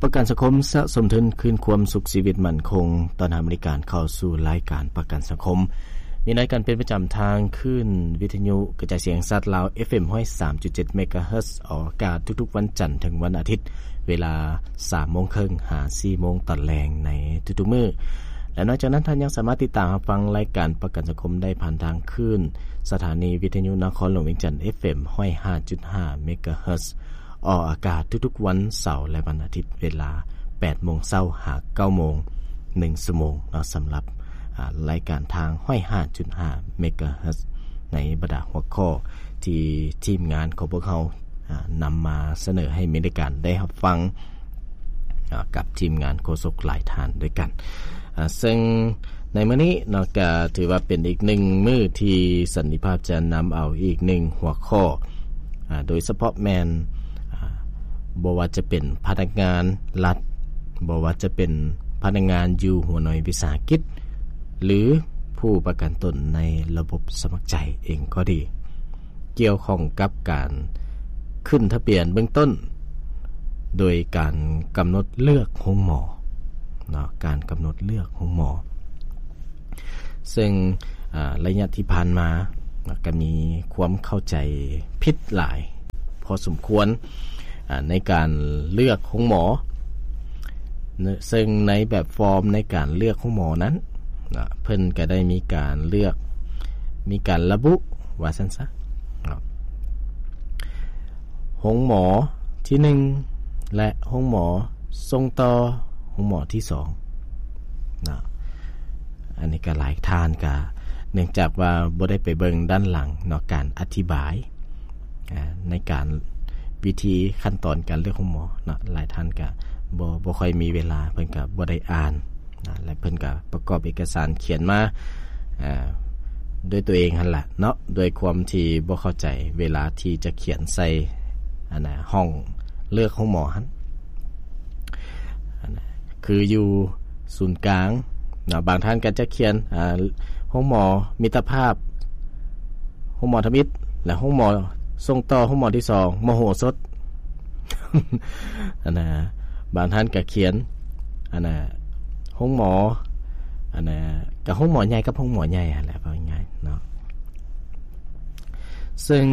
ປະກັນສັງຄົມ ສະສົມທຶນຄືນຄວາມສຸກຊີວິດໝັ້ນຄົງ. ຕ້ອນຮັບບໍລິການເຂົ້າສູ່ລາຍການປະກັນສັງຄົມ. ມີລາຍການເປັນປະຈຳທາງຄື້ນວິທະຍຸກະຈາຍສຽງແຫ່ງຊາດລາວ ເອັຟເອັມ ຮ້ອຍສາມຈຸດເຈັດ ເມກາເຮີດ ອອກອາກາດທຸກໆວັນຈັນເຖິງວັນອາທິດ ເວລາສາມໂມງເຄິ່ງຫາສີ່ໂມງຕອນແລງໃນທຸກໆມື້. ແລະ ນອກຈາກນັ້ນ, ທ່ານຍັງສາມາດຕິດຕາມຮັບຟັງລາຍການປະກັນສັງຄົມໄດ້ຜ່ານທາງຄື້ນສະຖານີວິທະຍຸນະຄອນຫຼວງວຽງຈັນ ເອັຟເອັມ ຮ້ອຍຫ້າຈຸດຫ້າ ເມກາເຮີດ ອອກອາກາດທຸກໆວັນເສົາ ແລະ ວັນອາທິດ ເວລາແປດໂມງເຊົ້າຫາເກົ້າໂມງ ໜຶ່ງຊົ່ວໂມງເນາະ. ສຳລັບ ອາ ລາຍການທາງ ຮ້ອຍຫ້າຈຸດຫ້າ ເມກາເຮີດ ໃນບັນດາຫົວຂໍ້ທີ່ທີມງານຂອງພວກເຮົາ ອາ ນຳມາສະເໜີໃຫ້ມີລາຍການໄດ້ຮັບຟັງ ອາ ກັບທີມງານໂຄສົກຫຼາຍທ່ານດ້ວຍກັນ. ອາ ເຊິ່ງໃນມື້ນີ້ເນາະ ກະຖືວ່າເປັນອີກໜຶ່ງມື້ທີ່ສັນຕິພາບຈະນຳເອົາອີກໜຶ່ງຫົວຂໍ້ ອາ ໂດຍສະເພາະແມ່ນ ອາ ບໍ່ວ່າຈະເປັນພະນັກງານລັດ, ບໍ່ວ່າຈະເປັນພະນັກງານຢູ່ຫົວໜ່ວຍວິສາຫະກິດ ຫຼື ຜູ້ປະກັນຕົນໃນລະບົບສະໝັກໃຈເອງກໍດີ ກ່ຽວຂ້ອງກັບການຂຶ້ນທະບຽນເບື້ອງຕົ້ນ ໂດຍການກຳນົດເລືອກໂຮງໝໍເນາະ, ການກຳນົດເລືອກໂຮງໝໍ. ເຊິ່ງ ອາ ໄລຍະທີ່ຜ່ານມາເນາະ ກໍມີຄວາມເຂົ້າໃຈຜິດຫຼາຍພໍສົມຄວນ ອາ ໃນການເລືອກໂຮງໝໍ ເຊິ່ງໃນແບບຟອມໃນການເລືອກໂຮງໝໍນັ້ນເນາະ ເພິ່ນກໍໄດ້ມີການເລືອກ ມີການລະບຸວ່າຊັ້ນຊະເນາະ ໂຮງໝໍທີໜຶ່ງ ແລະ ໂຮງໝໍສົ່ງຕໍ່ ໂຮງໝໍທີສອງເນາະ. ອັນນີ້ກໍຫຼາຍທ່ານກໍເນື່ອງຈາກວ່າບໍ່ໄດ້ໄປເບິ່ງດ້ານຫຼັງເນາະ ການອະທິບາຍ ອາ ໃນການ ວິທີຂັ້ນຕອນການເລືອກໂຮງໝໍເນາະ ຫຼາຍທ່ານກະບໍ່ ບໍ່ຄ່ອຍມີເວລາ ເພິ່ນກະບໍ່ໄດ້ອ່ານນະ ແລະ ເພິ່ນກະປະກອບເອກະສານຂຽນມາ ອາ ດ້ວຍຕົວເອງຫັ້ນລະເນາະ ດ້ວຍຄວາມທີ່ບໍ່ເຂົ້າໃຈເວລາທີ່ຈະຂຽນໃສ່ ອັນນະ ຫ້ອງເລືອກໂຮງໝໍຫັ້ນ ອັນນະ ຄືຢູ່ສູນກາງເນາະ ບາງທ່ານກໍຈະຂຽນ ອາ ໂຮງໝໍມິດຕະພາບ ໂຮງໝໍທຳອິດ ແລະ ໂຮງໝໍສົ່ງຕໍ່ ໂຮງໝໍທີສອງ ມະໂຫສົດ ອັນນະ ບາງທ່ານກໍຂຽນ ອັນນະ ໂຮງໝໍ ອັນນະ ກໍໂຮງໝໍໃຫຍ່ກັບໂຮງໝໍໃຫຍ່ຫັ້ນແຫຼະ ເວົ້າງ່າຍໆເນາະ. ເຊິ່ງ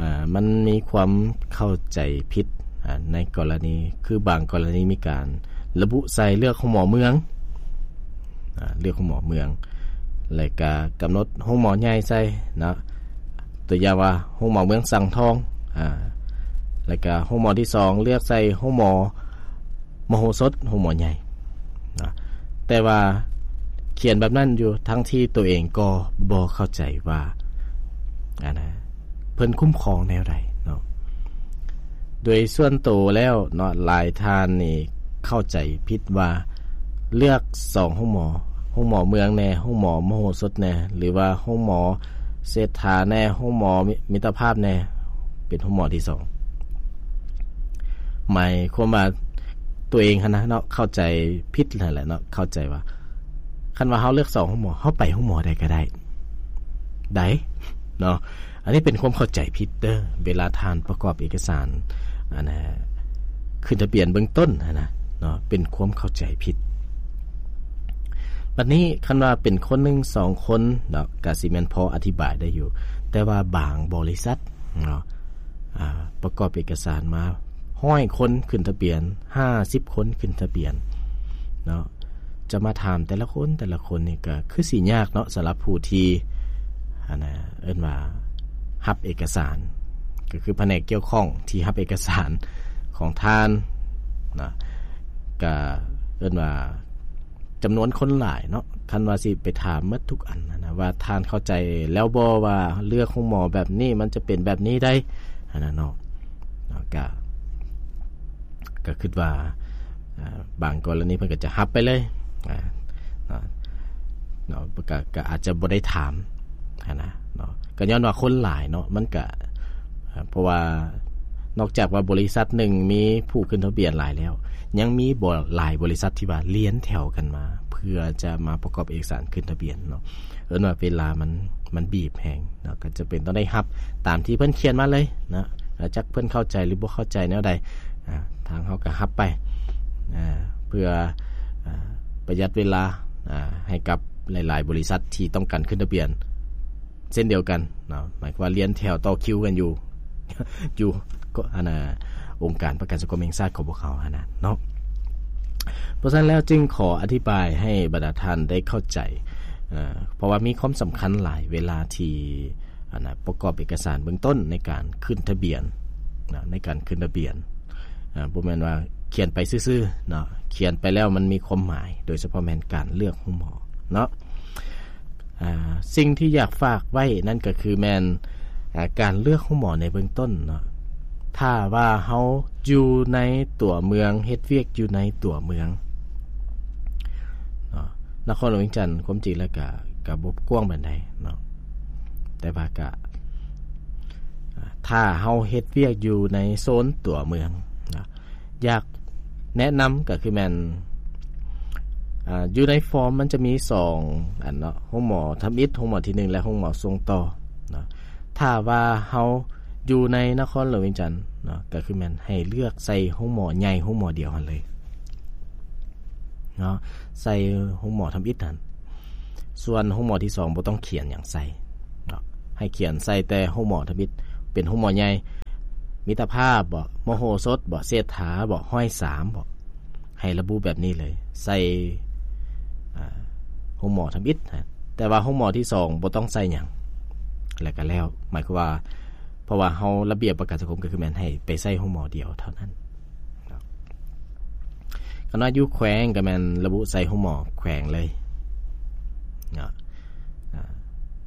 ອາ ມັນມີຄວາມເຂົ້າໃຈຜິດ ອາ ໃນກໍລະນີ ຄືບາງກໍລະນີມີການລະບຸໃສ່ເລືອກໂຮງໝໍເມືອງ ອາ ເລືອກໂຮງໝໍເມືອງ ແລະກະກຳນົດໂຮງໝໍໃຫຍ່ໃສ່ເນາະ ຕົວຢ່າງວ່າໂຮງໝໍເມືອງສັງທອງ ອາ ແລະກະໂຮງໝໍທີສອງເລືອກໃສ່ໂຮງໝໍມະໂຫສົດ ໂຮງໝໍໃຫຍ່ເນາະ ແຕ່ວ່າຂຽນແບບນັ້ນຢູ່ ທັງທີ່ຕົວເອງກໍບໍ່ເຂົ້າໃຈວ່າ ອັນນະ ເພິ່ນຄຸ້ມຄອງແນວໃດເນາະ. ໂດຍສ່ວນໂຕແລ້ວເນາະ ຫຼາຍທ່ານນີ້ເຂົ້າໃຈຜິດວ່າເລືອກສອງໂຮງໝໍ ໂຮງໝໍເມືອງແດ່ ໂຮງໝໍມະໂຫສົດແດ່ ຫຼືວ່າໂຮງໝໍເສດຖາແດ່ ໂຮງໝໍມິ ມິດຕະພາບແດ່ ເປັນໂຮງໝໍທີສອງ ໝາຍຄວາມວ່າຕົວເອງຫັ້ນນະເນາະ ເຂົ້າໃຈຜິດຫັ້ນແຫຼະເນາະ ເຂົ້າໃຈວ່າ ຄັນວ່າເຮົາເລືອກສອງໂຮງໝໍ ເຮົາໄປໂຮງໝໍໃດກໍໄດ້ ໄດ້ເນາະ. ອັນນີ້ເປັນຄວາມເຂົ້າໃຈຜິດເດີ ເວລາທ່ານປະກອບເອກະສານ ອັນນະ ຂຶ້ນທະບຽນເບື້ອງຕົ້ນຫັ້ນນະເນາະ ເປັນຄວາມເຂົ້າໃຈຜິດ. ບັດນີ້ຄັນວ່າເປັນຄົນໜຶ່ງສອງຄົນເນາະ ກະຊິແມ່ນພໍອະທິບາຍໄດ້ຢູ່ ແຕ່ວ່າບາງບໍລິສັດເນາະ ອາ ປະກອບເອກະສານມາຮ້ອຍຄົນ ຂຶ້ນທະບຽນຫ້າສິບຄົນ ຂຶ້ນທະບຽນເນາະ ຈະມາຖາມແຕ່ລະຄົນ ແຕ່ລະຄົນນີ້ກໍຄືຊິຍາກເນາະ ສຳລັບຜູ້ທີ່ ອັນນະ ເອີ້ນວ່າຮັບເອກະສານ ກໍຄືພະແນກກ່ຽວຂ້ອງທີ່ຮັບເອກະສານຂອງທ່ານນະ ກໍເອີ້ນວ່າຈຳນວນຄົນຫຼາຍເນາະ ຄັນວ່າຊິໄປຖາມໝົດທຸກອັນນະ ວ່າທ່ານເຂົ້າໃຈແລ້ວບໍ່ ວ່າເລືອກໂຮງໝໍແບບນີ້ມັນຈະເປັນແບບນີ້ໃດ ອັນນັ້ນເນາະ ກໍ ກໍຄິດວ່າ ອ່າ ບາງກໍລະນີເພິ່ນກໍຈະຮັບໄປເລີຍ ອ່າ ເນາະ ເນາະ ກໍ ກໍອາດຈະບໍ່ໄດ້ຖາມຫັ້ນນະເນາະ ກໍຍ້ອນວ່າຄົນຫຼາຍເນາະ ມັນກະ ເພາະວ່ານອກຈາກວ່າບໍລິສັດໜຶ່ງມີຜູ້ຂຶ້ນທະບຽນຫຼາຍແລ້ວ ຍັງມີບໍ່ຫຼາຍບໍລິສັດທີ່ວ່າລຽນແຖວກັນມາ ເພື່ອຈະມາປະກອບເອກະສານຂຶ້ນທະບຽນເນາະ ເອີ້ນວ່າເວລາມັນ ມັນບີບແຮງເນາະ ກໍຈຳເປັນຕ້ອງໄດ້ຮັບຕາມທີ່ເພິ່ນຂຽນມາເລີຍເນາະ ເອີ ລະຈັກເພິ່ນເຂົ້າໃຈ ຫຼື ບໍ່ເຂົ້າໃຈແນວໃດ ອາ ທາງເຮົາກໍຮັບໄປ ອາ ເພື່ອ ອາ ປະຢັດເວລາ ອາ ໃຫ້ກັບຫຼາຍໆບໍລິສັດທີ່ຕ້ອງການຂຶ້ນທະບຽນເຊັ່ນດຽວກັນເນາະ. ໝາຍຄວາມວ່າລຽນແຖວຕໍ່ຄິວກັນຢູ່ ຢູ່ ກໍ ອັນນ່າ ອົງການປະກັນສັງຄົມແຫ່ງຊາດຂອງພວກເຮົາຫັ້ນນະເນາະ. ເພາະສະນັ້ນແລ້ວຈຶ່ງຂໍອະທິບາຍໃຫ້ບັນດາທ່ານໄດ້ເຂົ້າໃຈ ເພາະວ່າມີຄວາມສຳຄັນຫຼາຍເວລາທີ່ ອັນນ່າ ປະກອບເອກະສານເບື້ອງຕົ້ນໃນການຂຶ້ນທະບຽນເນາະ ໃນການຂຶ້ນທະບຽນ ອາ ບໍ່ແມ່ນວ່າຂຽນໄປຊື່ໆເນາະ ຂຽນໄປແລ້ວມັນມີຄວາມໝາຍ ໂດຍສະເພາະແມ່ນການເລືອກໂຮງໝໍເນາະ. ອາ ສິ່ງທີ່ຢາກຝາກໄວ້ນັ້ນກໍຄືແມ່ນ ອາ ການເລືອກໂຮງໝໍໃນເບື້ອງຕົ້ນເນາະ ຖ້າວ່າເຮົາຢູ່ໃນຕົວເມືອງ ເຮັດວຽກຢູ່ໃນຕົວເມືອງເນາະ ນະຄອນຫຼວງວຽງຈັນ ຄວາມຈິງແລ້ວກະ ກະບໍ່ກວ້າງປານໃດເນາະ ແຕ່ວ່າກະ ອາ ຖ້າເຮົາເຮັດວຽກຢູ່ໃນໂຊນຕົວເມືອງເນາະ ຢາກແນະນຳກໍຄືແມ່ນ ອາ ຢູ່ໃນຟອມມັນຈະມີສອງອັນເນາະ ໂຮງໝໍທຳອິດ ໂຮງໝໍທີໜຶ່ງ ແລະ ໂຮງໝໍສົ່ງຕໍ່ເນາະ. ຖ້າວ່າເຮົາຢູ່ໃນນະຄອນຫຼວງວຽງຈັນເນາະ ກໍຄືແມ່ນໃຫ້ເລືອກໃສ່ໂຮງໝໍໃຫຍ່ໂຮງໝໍດຽວຫັ້ນເລີຍເນາະ ໃສ່ໂຮງໝໍທຳອິດຫັ້ນ. ສ່ວນໂຮງໝໍທີສອງບໍ່ຕ້ອງຂຽນຫຍັງໃສ່ເນາະ ໃຫ້ຂຽນໃສ່ແຕ່ໂຮງໝໍທຳອິດ ເປັນໂຮງໝໍໃຫຍ່ ມິດຕະພາບບໍ ມະໂຫສົດບໍ ເສດຖາບໍ ຮ້ອຍສາມບໍ ໃຫ້ລະບຸແບບນີ້ເລີຍ ໃສ່ ອາ ໂຮງໝໍທຳອິດ ແຕ່ວ່າໂຮງໝໍທີສອງບໍ່ຕ້ອງໃສ່ຫຍັງ ແລ້ວກໍແລ້ວ ໝາຍຄວາມວ່າ ເພາະວ່າເຮົາລະບຽບປະກັນສັງຄົມກໍຄືແມ່ນໃຫ້ໄປໃສ່ໂຮງໝໍດຽວເທົ່ານັ້ນເນາະ. ຄັນວ່າຢູ່ແຂວງກໍແມ່ນລະບຸໃສ່ໂຮງໝໍແຂວງເລີຍເນາະ ອາ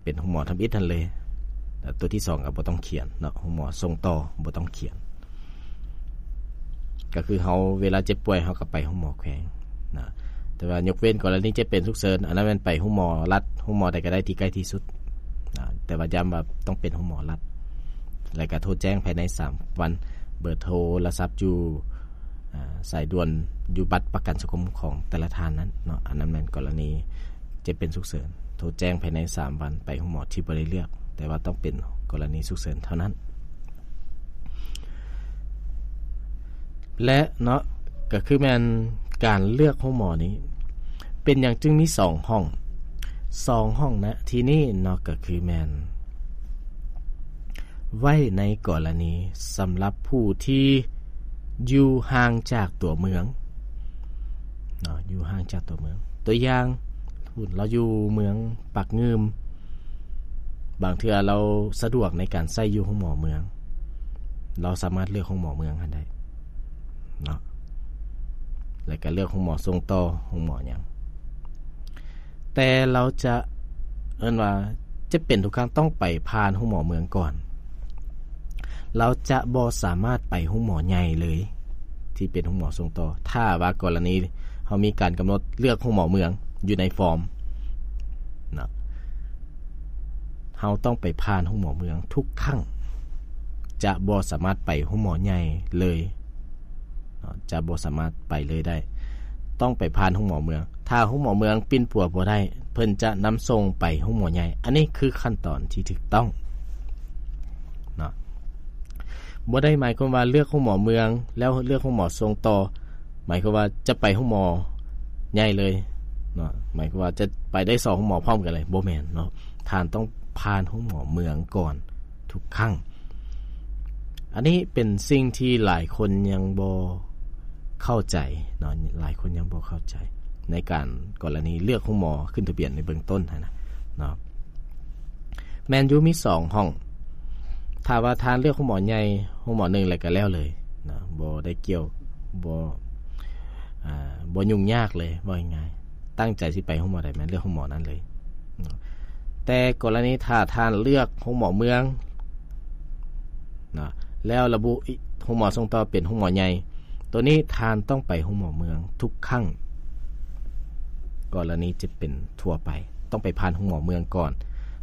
ເປັນໂຮງໝໍທຳອິດຫັ້ນເລີຍ ແລ້ວຕົວທີສອງກໍບໍ່ຕ້ອງຂຽນເນາະ ໂຮງໝໍສົ່ງຕໍ່ບໍ່ຕ້ອງຂຽນ. ກໍຄືເຮົາເວລາເຈັບປ່ວຍເຮົາກໍໄປໂຮງໝໍແຂວງນະ ແຕ່ວ່າຍົກເວັ້ນກໍລະນີເຈັບເປັນສຸກເສີນ ອັນນັ້ນແມ່ນໄປໂຮງໝໍລັດ ໂຮງໝໍໃດກໍໄດ້ທີ່ໃກ້ທີ່ສຸດນະ ແຕ່ວ່າຢ້ຳວ່າຕ້ອງເປັນໂຮງໝໍລັດ ແລ້ວກໍໂທແຈ້ງພາຍໃນສາມວັນ ເບີໂທລະສັບຢູ່ ອາ ສາຍດ່ວນຢູ່ບັດປະກັນສັງຄົມຂອງແຕ່ລະທ່ານນັ້ນເນາະ ອັນນັ້ນແມ່ນກໍລະນີ ເຈັບເປັນສຸກເສີນ ໂທແຈ້ງພາຍໃນສາມວັນ ໄປໂຮງໝໍທີ່ບໍ່ໄດ້ເລືອກ ແຕ່ວ່າຕ້ອງເປັນກໍລະນີສຸກເສີນເທົ່ານັ້ນ ແລະເນາະ ກໍຄືແມ່ນການເລືອກໂຮງໝໍນີ້ ເປັນຫຍັງຈຶ່ງມີສອງຫ້ອງ ສອງຫ້ອງນະທີ່ນີ້ເນາະ ກໍຄືແມ່ນ ໄວ້ໃນກໍລະນີສຳລັບຜູ້ທີ່ຢູ່ຫ່າງຈາກຕົວເມືອງເນາະ ຢູ່ຫ່າງຈາກຕົວເມືອງ ຕົວຢ່າງ ລາວຢູ່ເມືອງປາກງື່ມ ບາງເທື່ອລາວສະດວກໃນການໃຊ້ຢູ່ໂຮງໝໍເມືອງ ລາວສາມາດເລືອກໂຮງໝໍເມືອງຫັ້ນໄດ້ເນາະ ແລ້ວກໍເລືອກໂຮງໝໍສົ່ງຕໍ່ ໂຮງໝໍຫຍັງ ແຕ່ລາວຈະ ເອີ້ນວ່າ ຈະເປັນທຸກຄັ້ງຕ້ອງໄປຜ່ານໂຮງໝໍເມືອງກ່ອນ ລາວຈະບໍ່ສາມາດໄປໂຮງໝໍໃຫຍ່ເລີຍ ທີ່ເປັນໂຮງໝໍສົ່ງຕໍ່ ຖ້າວ່າກໍລະນີເຮົາມີການກຳນົດເລືອກໂຮງໝໍເມືອງຢູ່ໃນຟອມເນາະ ເຮົາຕ້ອງໄປຜ່ານໂຮງໝໍເມືອງທຸກຄັ້ງ ຈະບໍ່ສາມາດໄປໂຮງໝໍໃຫຍ່ເລີຍ ເນາະ ຈະບໍ່ສາມາດໄປເລີຍໄດ້ ຕ້ອງໄປຜ່ານໂຮງໝໍເມືອງ ຖ້າໂຮງໝໍເມືອງປິ່ນປົວບໍ່ໄດ້ ເພິ່ນຈະນຳສົ່ງໄປໂຮງໝໍໃຫຍ່ ອັນນີ້ຄືຂັ້ນຕອນທີ່ຖືກຕ້ອງເນາະ ບໍ່ໄດ້ໝາຍຄວາມວ່າເລືອກໂຮງໝໍເມືອງ ແລ້ວເລືອກໂຮງໝໍສົ່ງຕໍ່ ໝາຍຄວາມວ່າຈະໄປໂຮງໝໍໃຫຍ່ເລີຍເນາະ ໝາຍຄວາມວ່າຈະໄປໄດ້ສອງໂຮງໝໍພ້ອມກັນເລີຍ ບໍ່ແມ່ນເນາະ ທ່ານຕ້ອງຜ່ານໂຮງໝໍເມືອງກ່ອນ ທຸກຄັ້ງ ອັນນີ້ເປັນສິ່ງທີ່ຫຼາຍຄົນຍັງບໍ່ເຂົ້າໃຈເນາະ ຫຼາຍຄົນຍັງບໍ່ເຂົ້າໃຈ ໃນການກໍລະນີເລືອກໂຮງໝໍຂຶ້ນທະບຽນໃນເບື້ອງຕົ້ນຫັ້ນນະເນາະ ແມ່ນຢູ່ມີສອງຫ້ອງ ຖ້າວ່າທ່ານເລືອກໂຮງໝໍໃຫຍ່ ໂຮງໝໍໜຶ່ງແລ້ວກໍແລ້ວເລີຍເນາະ ບໍ່ໄດ້ກ່ຽວ ບໍ່ ອ່າ ບໍ່ຫຍຸ້ງຍາກເລີຍ ເວົ້າງ່າຍໆ ຕັ້ງໃຈຊິໄປໂຮງໝໍໃດ ແມ່ນເລືອກໂຮງໝໍນັ້ນເລີຍເນາະ ແຕ່ກໍລະນີຖ້າທ່ານເລືອກໂຮງໝໍເມືອງເນາະ ແລ້ວລະບຸໂຮງໝໍສົ່ງຕໍ່ເປັນໂຮງໝໍໃຫຍ່ ໂຕນີ້ທ່ານຕ້ອງໄປໂຮງໝໍເມືອງທຸກຄັ້ງ ກໍລະນີຈະເປັນທົ່ວໄປ ຕ້ອງໄປຜ່ານໂຮງໝໍເມືອງກ່ອນ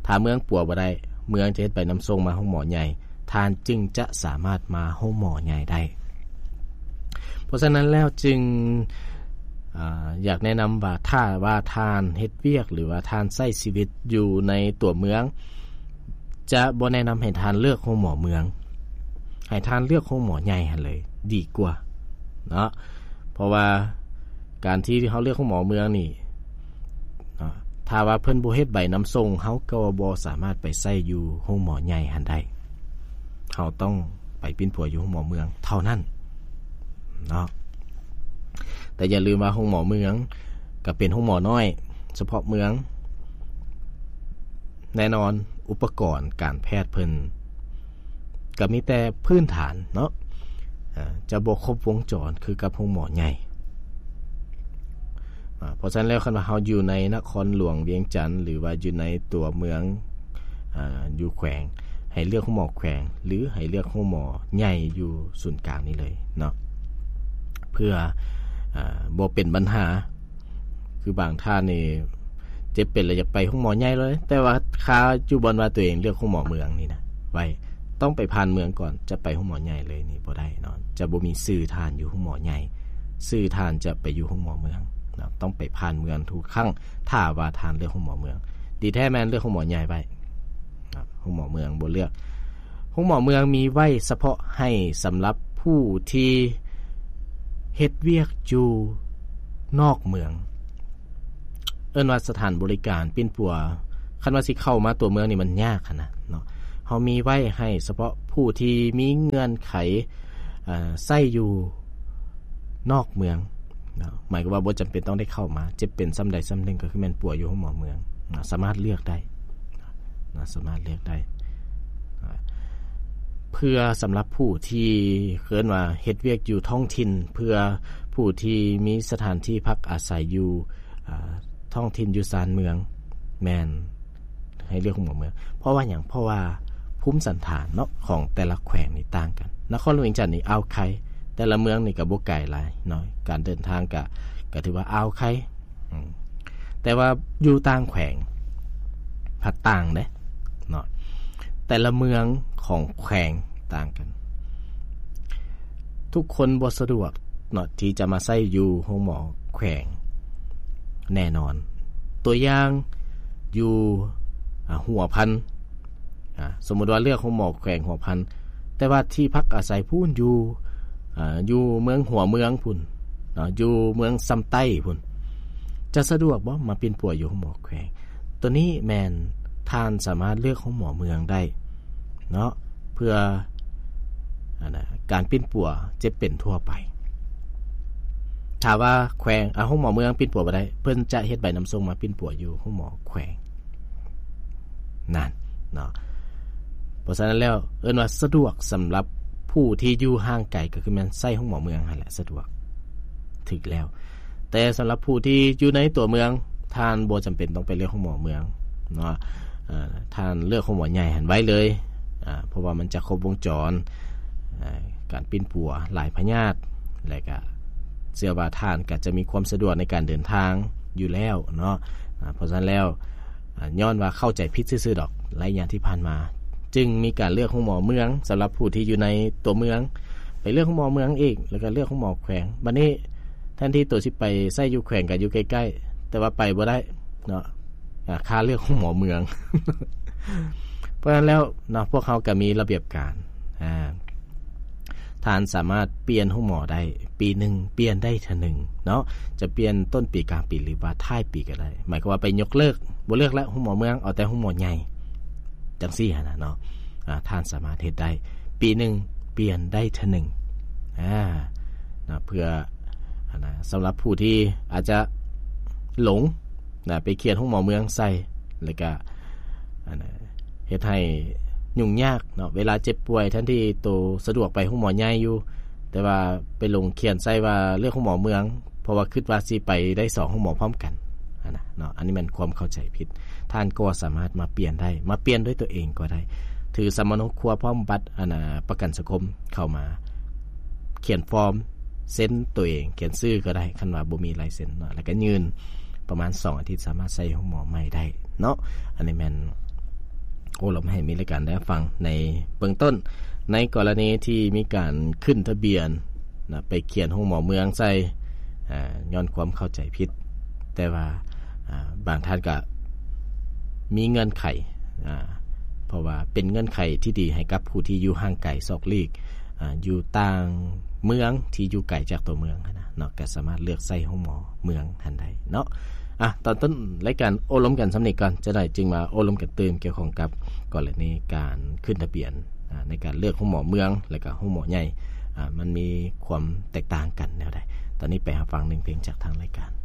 ຖ້າເມືອງປົວບໍ່ໄດ້ ເມືອງຈະເຮັດໃບນຳສົ່ງມາໂຮງໝໍໃຫຍ່ ທ່ານຈຶ່ງຈະສາມາດມາໂຮງໝໍໃຫຍ່ໄດ້. ເພາະສະນັ້ນແລ້ວຈຶ່ງ ອາ ຢາກແນະນຳວ່າ ຖ້າວ່າທ່ານເຮັດວຽກ ຫຼືວ່າທ່ານໃຊ້ຊີວິດຢູ່ໃນຕົວເມືອງ ຈະບໍ່ແນະນຳໃຫ້ທ່ານເລືອກໂຮງໝໍເມືອງ ໃຫ້ທ່ານເລືອກໂຮງໝໍໃຫຍ່ຫັ້ນເລີຍດີກວ່າເນາະ. ເພາະວ່າການທີ່ເຮົາເລືອກໂຮງໝໍເມືອງນີ້ເນາະ ຖ້າວ່າເພິ່ນບໍ່ເຮັດໃບນຳສົ່ງ ເຮົາກໍບໍ່ສາມາດໄປໃຊ້ຢູ່ໂຮງໝໍໃຫຍ່ຫັ້ນໄດ້. ເຮົາຕ້ອງໄປປິ່ນປົວຢູ່ໂຮງໝໍເມືອງເທົ່ານັ້ນເນາະ. ແຕ່ຢ່າລືມວ່າໂຮງໝໍເມືອງກໍເປັນໂຮງໝໍນ້ອຍສະເພາະເມືອງ. ແນ່ນອນ ອຸປະກອນການແພດເພິ່ນກໍມີແຕ່ພື້ນຖານເນາະ ຈະບໍ່ຄົບວົງຈອນຄືກັບໂຮງໝໍໃຫຍ່. ເພາະສະນັ້ນແລ້ວ ຄັນວ່າເຮົາຢູ່ໃນນະຄອນຫຼວງວຽງຈັນ ຫຼືວ່າຢູ່ໃນຕົວເມືອງ ອາ ຢູ່ແຂວງ ໃຫ້ເລືອກໂຮງໝໍແຂວງ ຫຼືໃຫ້ເລືອກໂຮງໝໍໃຫຍ່ຢູ່ສູນກາງນີ້ເລີຍເນາະ ເພື່ອ ອາ ບໍ່ເປັນບັນຫາ. ຄືບາງທ່ານນີ້ເຈັບເປັນແລ້ວຢາກໄປໂຮງໝໍໃຫຍ່ເລີຍ ແຕ່ວ່າຄາຢູ່ບ່ອນວ່າຕົວເອງເລືອກໂຮງໝໍເມືອງນີ້ນະໄວ້ ຕ້ອງໄປຜ່ານເມືອງກ່ອນ ຈະໄປໂຮງໝໍໃຫຍ່ເລີຍນີ້ບໍ່ໄດ້ເນາະ. ຈະບໍ່ມີຊື່ທ່ານຢູ່ໂຮງໝໍໃຫຍ່ ຊື່ທ່ານຈະໄປຢູ່ໂຮງໝໍເມືອງເນາະ. ຕ້ອງໄປຜ່ານເມືອງທຸກຄັ້ງ ຖ້າວ່າທ່ານເລືອກໂຮງໝໍເມືອງ. ດີແທ້ແມ່ນເລືອກໂຮງໝໍໃຫຍ່ໄວ້ ໂຮງໝໍເມືອງບໍ່ເລືອກ. ໂຮງໝໍເມືອງມີໄວ້ສະເພາະໃຫ້ສຳລັບຜູ້ທີ່ເຮັດວຽກຢູ່ນອກເມືອງ ເອີ້ນວ່າສະຖານບໍລິການປິ່ນປົວ. ຄັນວ່າຊິເຂົ້າມາຕົວເມືອງນີ້ມັນຍາກຫັ້ນນະເນາະ. ເຮົາມີໄວ້ໃຫ້ສະເພາະຜູ້ທີ່ມີເງື່ອນໄຂ ເອີ ໃຊ້ຢູ່ນອກເມືອງເນາະ ໝາຍຄວາມວ່າບໍ່ຈຳເປັນຕ້ອງໄດ້ເຂົ້າມາ ເຈັບເປັນສ່ຳໃດສ່ຳໜຶ່ງ ກໍຄືແມ່ນປົວຢູ່ໂຮງໝໍເມືອງເນາະ ສາມາດເລືອກໄດ້ເນາະ ສາມາດເລືອກໄດ້. ເພື່ອສຳລັບຜູ້ທີ່ເອີ້ນວ່າເຮັດວຽກຢູ່ທ້ອງຖິ່ນ ເພື່ອຜູ້ທີ່ມີສະຖານທີ່ພັກອາໄສຢູ່ ອາ ທ້ອງຖິ່ນຢູ່ຊານເມືອງ ແມ່ນໃຫ້ເລືອກໂຮງໝໍເມືອງ. ເພາະວ່າຫຍັງ? ເພາະວ່າພູມສັນຖານເນາະ ຂອງແຕ່ລະແຂວງນີ້ຕ່າງກັນ. ນະຄອນຫຼວງວຽງຈັນນີ້ອ່າວໄຄ, ແຕ່ລະເມືອງນີ້ກໍບໍ່ໄກຫຼາຍເນາະ, ການເດີນທາງກໍ ກໍຖືວ່າອ່າວໄຄ. ອືມ ແຕ່ວ່າຢູ່ຕ່າງແຂວງພັດຕ່າງເດ້ເນາະ, ແຕ່ລະເມືອງຂອງແຂວງຕ່າງກັນ. ທຸກຄົນບໍ່ສະດວກເນາະ ທີ່ຈະມາໃຊ້ຢູ່ໂຮງໝໍແຂວງແນ່ນອນ. ຕົວຢ່າງ ຢູ່ ອາ ຫົວພັນ ອາ ສົມມຸດວ່າເລືອກໂຮງໝໍແຂວງຫົວພັນ ແຕ່ວ່າທີ່ພັກອາໄສພຸ້ນຢູ່ ອາ ຢູ່ເມືອງຫົວເມືອງພຸ້ນເນາະ, ຢູ່ເມືອງຊຳໃຕ້ພຸ້ນ ຈະສະດວກບໍ່ ມາປິ່ນປົວຢູ່ໂຮງໝໍແຂວງ? ຕົວນີ້ແມ່ນທ່ານສາມາດເລືອກໂຮງໝໍເມືອງໄດ້ເນາະ ເພື່ອ ອັນນະ ການປິ່ນປົວເຈັບເປັນທົ່ວໄປ. ຖ້າວ່າແຂວງ ອາ ໂຮງໝໍເມືອງປິ່ນປົວບໍ່ໄດ້ ເພິ່ນຈະເຮັດໃບນຳສົ່ງມາປິ່ນປົວຢູ່ໂຮງໝໍແຂວງນັ້ນເນາະ. ເພາະສະນັ້ນແລ້ວ ເອີ້ນວ່າສະດວກສຳລັບຜູ້ທີ່ຢູ່ຫ່າງໄກ ກໍຄືແມ່ນໃຊ້ໂຮງໝໍເມືອງຫັ້ນແຫຼະ ສະດວກ ຖືກແລ້ວ. ແຕ່ສຳລັບຜູ້ທີ່ຢູ່ໃນຕົວເມືອງ ທ່ານບໍ່ຈຳເປັນຕ້ອງໄປເລືອກໂຮງໝໍເມືອງເນາະ, ເອີ ທ່ານເລືອກໂຮງໝໍໃຫຍ່ຫັ້ນໄວ້ເລີຍ ອາ ເພາະວ່າມັນຈະຄົບວົງຈອນ ອາ ການປິ່ນປົວຫຼາຍພະຍາດ ແລະກະເຊື່ອວ່າທ່ານກະຈະມີຄວາມສະດວກໃນການເດີນທາງຢູ່ແລ້ວເນາະ. ອາ ເພາະສະນັ້ນແລ້ວ ອາ ຍ້ອນວ່າເຂົ້າໃຈຜິດຊື່ໆດອກ ໄລຍະທີ່ຜ່ານມາ ຈຶ່ງມີການເລືອກໂຮງໝໍເມືອງສຳລັບຜູ້ທີ່ຢູ່ໃນຕົວເມືອງ, ໄປເລືອກໂຮງໝໍເມືອງອີກ ແລ້ວກໍເລືອກໂຮງໝໍແຂວງ. ບັດນີ້ແທນທີ່ໂຕຊິໄປໃຊ້ຢູ່ແຂວງ ກໍຢູ່ໃກ້ໆ ແຕ່ວ່າໄປບໍ່ໄດ້ເນາະ, ອາ ຄ່າເລືອກໂຮງໝໍເມືອງ. ເພາະສະນັ້ນແລ້ວເນາະ ພວກເຮົາກໍມີລະບຽບການ ອາ ທ່ານສາມາດປ່ຽນໂຮງໝໍໄດ້ ປີໜຶ່ງປ່ຽນໄດ້ເທື່ອໜຶ່ງເນາະ, ຈະປ່ຽນຕົ້ນປີ ກາງປີ ຫຼືວ່າທ້າຍປີກໍໄດ້. ໝາຍຄວາມວ່າໄປຍົກເລີກ ບໍ່ເລືອກແລ້ວໂຮງໝໍເມືອງ ເອົາແຕ່ໂຮງໝໍໃຫຍ່ ຈັ່ງຊີ້ຫັ້ນນະເນາະ, ອາ ທ່ານສາມາດເຮັດໄດ້ ປີໜຶ່ງປ່ຽນໄດ້ເທື່ອໜຶ່ງ ອາ ນະ ເພື່ອ ອັນນະ ສຳລັບຜູ້ທີ່ອາດຈະຫຼົງນະ ໄປຂຽນໂຮງໝໍເມືອງໃສ່ ແລ້ວກະ ອັນນະ ເຮັດໃຫ້ຫຍຸ້ງຍາກເນາະ ເວລາເຈັບປ່ວຍ ແທນທີ່ໂຕສະດວກໄປໂຮງໝໍໃຫຍ່ຢູ່ ແຕ່ວ່າໄປຫຼົງຂຽນໃສ່ວ່າເລືອກໂຮງໝໍເມືອງ ເພາະວ່າຄິດວ່າຊິໄປໄດ້ສອງໂຮງໝໍພ້ອມກັນຫັ້ນນະເນາະ. ອັນນີ້ແມ່ນຄວາມເຂົ້າໃຈຜິດ, ທ່ານກໍສາມາດມາປ່ຽນໄດ້ ມາປ່ຽນດ້ວຍຕົວເອງກໍໄດ້, ຖືສຳມະໂນຄົວພ້ອມບັດ ອັນນະ ປະກັນສັງຄົມເຂົ້າມາ ຂຽນຟອມ ເຊັນຕົວເອງ ຂຽນຊື່ກໍໄດ້ ຄັນວ່າບໍ່ມີລາຍເຊັນເນາະ, ແລ້ວກໍຍື່ນ ປະມານສອງອາທິດ ສາມາດໃຊ້ໂຮງໝໍໃໝ່ໄດ້ເນາະ. ອັນນີ້ແມ່ນໂອ້ລົມໃຫ້ມີລາຍການໄດ້ຟັງໃນເບື້ອງຕົ້ນ ໃນກໍລະນີທີ່ມີການຂຶ້ນທະບຽນນະ ໄປຂຽນໂຮງໝໍເມືອງໃສ່ ອາ ຍ້ອນຄວາມເຂົ້າໃຈຜິດ, ແຕ່ວ່າ ອາ ບາງທ່ານກະມີເງື່ອນໄຂ ອາ ເພາະວ່າເປັນເງື່ອນໄຂທີ່ດີໃຫ້ກັບຜູ້ທີ່ຢູ່ຫ່າງໄກສອກຫຼີກ ອາ ຢູ່ຕ່າງເມືອງທີ່ຢູ່ໄກຈາກຕົວເມືອງຫັ້ນນະເນາະ ກໍສາມາດເລືອກໃຊ້ໂຮງໝໍເມືອງຫັ້ນໄດ້ເນາະ. ອາ ຕອນຕົ້ນລາຍການໂອ້ລົມກັນສ່ຳນີ້ກ່ອນ ຈະໄດ້ຈຶ່ງມາໂອ້ລົມກັນຕື່ມກ່ຽວຂ້ອງກັບກໍລະນີການຂຶ້ນທະບຽນ ອາ ໃນການເລືອກໂຮງໝໍເມືອງ ແລະກະໂຮງໝໍໃຫຍ່ ອາ ມັນມີຄວາມແຕກຕ່າງກັນແນວໃດ. ຕອນນີ້ໄປຮັບຟັງໜຶ່ງເພງຈາກທາງລາຍການ.